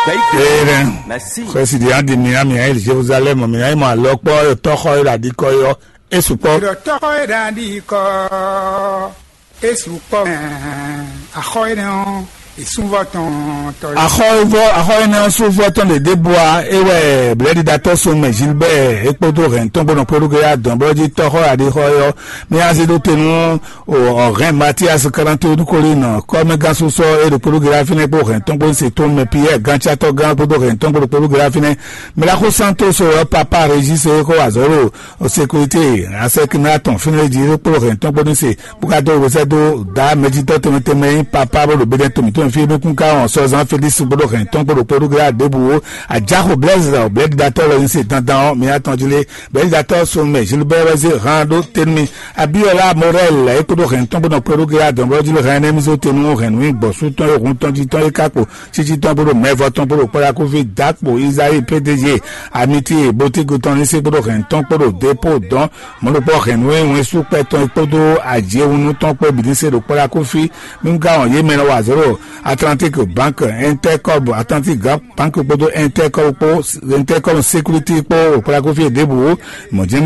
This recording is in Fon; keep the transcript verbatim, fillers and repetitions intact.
Ee, xwɛsi ɖi andi mi ami ayi Jerusalem mi ayi mɔ alɔ kpɔ tɔxɔ yi ɖadi kɔ yɔ esu kpɔ. Ɖɔ tɔxɔ yi ɖadi kɔ esu kpɔ mɛ axɔ yi nɛ ɔ esunvɔ tɔn tɔ. Axɔ vɔ axɔ yi nɛ ɔ sunvɔ tɔn ɖe ɖe bua ewɛ blɛɖiɖatɔ so mɛ Gilbert ekpodo hɛn tɔn gbɔnɔ kpɛɖuge ya dɔn bɔ jí tɔxɔ aɖixɔ yɔ mi azi ɖo te nú o ɔhɛn Matias Kalanto Dukolin kɔmɛgán susɔ e ɖo kpódó gera fínɛ́ kpó hɛn tɔn kpó se tɔn mɛ Pierre Ganchatɔ gán kpódó hɛn tɔn kpó ɖo kpódó gera fínɛ́. Melaxo Santos ɔ papa Régis e xɔ azɔ̌ ɖo sécurité asɛkínátɔn fínɛ́ jí kpó hɛn tɔn kpó ní se bó ka dó wezɛ́ dó dá mɛjitɔ́ tɛnmɛ tɛnmɛ nyí papa bó ɖo bédɛ́ tɔn mǐtɔn fí nukún ká wɔn sɔzán Félix kpódó hɛn tɔn kpó ɖo kpódó gera ɖěbǔ ó. Ajáxo Blaise ɔ blɛ̌ɖiɖatɔ́ lɔ ní se dandan ɔ́ mi atɔn jí lé Bɛ̌zatɔ́ Sunmɛ Gilbert wɛ zé han ɖó te nú mì. Abíɔlá Morɛl é kpódó hɛn tɔn kpó nɔ kpé ɖó ge adɔ̌nblɔ́ jí lé hɛn énɛ́ mì zó te nú hɛn nú gbɔ̌sú tɔn e hun tɔn jí tɔn é ka kpo cící tɔn kpódó mɛvɔ tɔn kpódó kpɔ́ɖá kúfí Dakpo Izayi P D G Amiti Botigo tɔn ní sí kpódó hɛn tɔn kpódó Depo dɔn mɔ̌ɖokpɔ́ hɛn nú é wɛn sú kpɛ tɔn é kpódó ajěwunú tɔn kpó bǐ ní se ɖo kpɔ́ɖá kúfí. Mí ka wɔn yě mɛ nɔ wa zéro Atlantique Banque Intercob Atlantique Banque kpódó Intercob kpó Intercob Sécurité kpó kpóɖá kúfí ɖěbǔ. Mɔ̌ jɛ́n